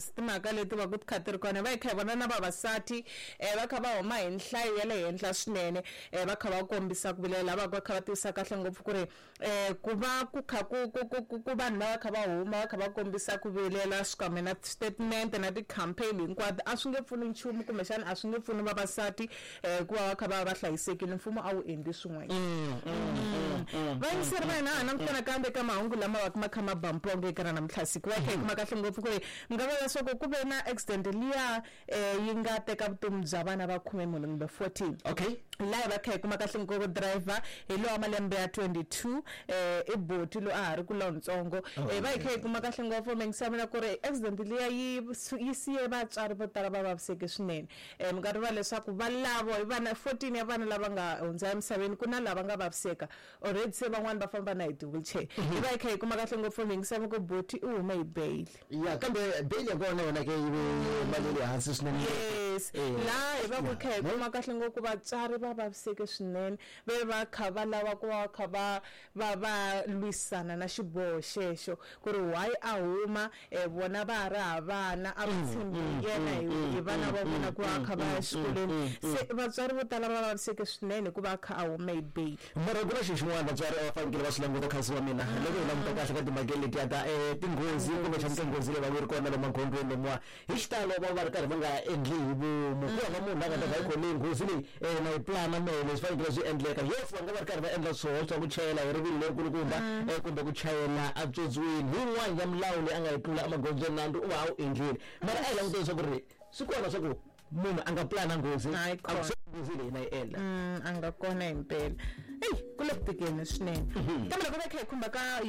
Yes, timhaka leti va ku ti kha ti ri kona, va hi kha hi vona na vavasati va kha va huma hi nhlayo ya le henhla swinene, va kha va kombisa ku vilela, va va kha va tivisa kahle ngopfu ku ri ku va ku kha ku ku ku ku ku vanhu va va kha va huma va kha va kombisa ku vilela xikan'we na statement na ti-campaign hinkwato a swi nge pfuni nchumu, kumbexana a swi nge pfuni vavasati ku va va kha va va hlayisekile, mfumo a wu endli swin'wanyana. Vayingiseri va hina ha langutana kambe ka mahungu lama va ma kha ma ba mpongo eka ra namuntlha siku, va kha hi kuma kahle ngopfu ku ri mi nga vula leswaku ku ve na accident liya yi nga teka vutomi bya vana va 14 kumbe 14. Laha va kha hi kuma kahle ngopfu driver hi lowa malembe ya 22, i boti loyi a ha ri ku lontsongo. Va hi kha hi kuma kahle ngopfu mingisa mina ku ri accident liya yi siye vatswari vo tala va vaviseke swinene. Mi nga rivala leswaku va lavo hi vana 14 ya vana lava nga hundza emisaveni, ku na lava nga vaviseka already, se van'wani va famba na hi ti-wheelchair. Hi va hi kha hi kuma kahle ngopfu mingisa ku boti i hume hi bail. Ya, kambe bail ya kona yona ke yi ve mali ya le hansi swinene. Yes, laha hi va ku kha hi kuma kahle ngopfu vatswari va vaviseke swinene, ve va kha va lava ku va kha va va va lwisana na xiboho xexo ku ri why a huma, vona va ha ri ha vana, a va tshembi yena hi vana va vona ku va kha va ya exikolweni. Se vatswari vo tala va vaviseke swinene hikuva a kha a hume hi bail. Mara ku na xilo xin'wana vatswari a va fanekele va swi languta, khansi wa mina, loko hi languta kahle ka timhaka letiya ta tinghozi kumbexana tinghozi leyi va ku yi ri kona lomu magondzweni lomuwa, hi xitalo va va ri karhi va nga endli hi vomu. Ku hava munhu la nga ta va yi khome nghozi leyi na yi plana mehe, leswi fanekele swi endleka. Yes, va nga va ri karhi va endla swoho swa ku chayela hi rivilo lerikulukumba kumbe ku chayela etswotsweni, hi yin'wana ya milawu leyi a nga yi tlula emagondzweni, nandzu u va a wu endlile. Mara a hi languteni leswaku ri swi kona swa ku munhu a nga plana nghozi, Hayi a ku kona. se nghozi leyi na yi endla. A nga kona himpela. Eyi, ku le ku tikeni swinene, kambe loko va kha hi khumba ka